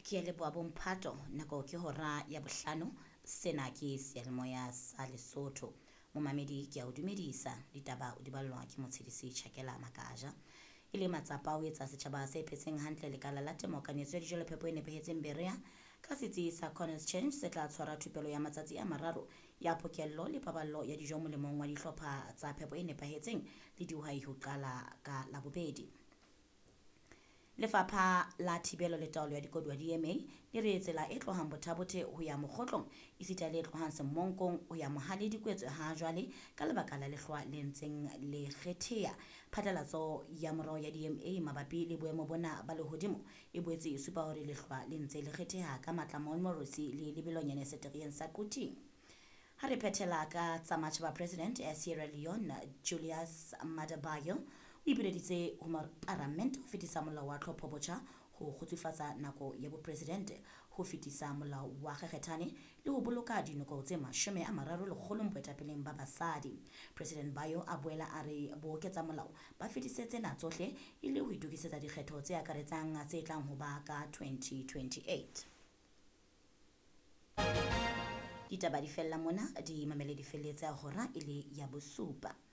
Ke a leboha bomphato, nako ke hora ya bohlano. Sena ke seyalemoya sa Lesotho. Momamedi ke a o dumedisa, ditaba o di ballwa ke Motshedisi Tjhakela Makaja. E le matsapa a ho etsa setjhaba se phetseng hantle lekala la temo kanetso ya dijo le phepo e nepahetseng Berea ka setsi sa Corners Change se tla tshwara thupelo ya matsatsi a mararo ya pokello le paballo ya dijo molemong wa dihlopha tsa phepo e nepahetseng le dihwai ho qala ka Labobedi. Lefapha la Thibelo le Taolo ya Dikoduwa DMA le re tsela e tlohang Bothabothe ho ya Mokgotlong esita le e tlohang Semonkong ho ya Mohale di kwetswe ha jwale ka lebaka la lehlwa le ntseng le kgetheha. Phatlalatso ya morao ya DMA mabapi le boemo bona ba lehodimo e boetse e supa hore lehlwa le ntse le kgetheha ka matla Montmorency le lebelonyane setereng sa Quthing. Ha re phethela ka tsa matjhaba President ya Sierra Leone Julius Maada Bio o ipileditse ho paramente ho fetisa molao wa tlhopho botjha ho kgutsufatsa nako ya bopresidente, ho fetisa molao wa kgekgethane le ho boloka dinoko tse 30 lekgolong boetapeleng ba basadi. President Bio a boela a re booketsa molao ba fetise tsena tsohle e le ho itokisetsa dikgetho tse akaretsang tse tlang ho ba ka 2028. Ditaba di fella mona, di mamele di felletse hora e le ya bosupa.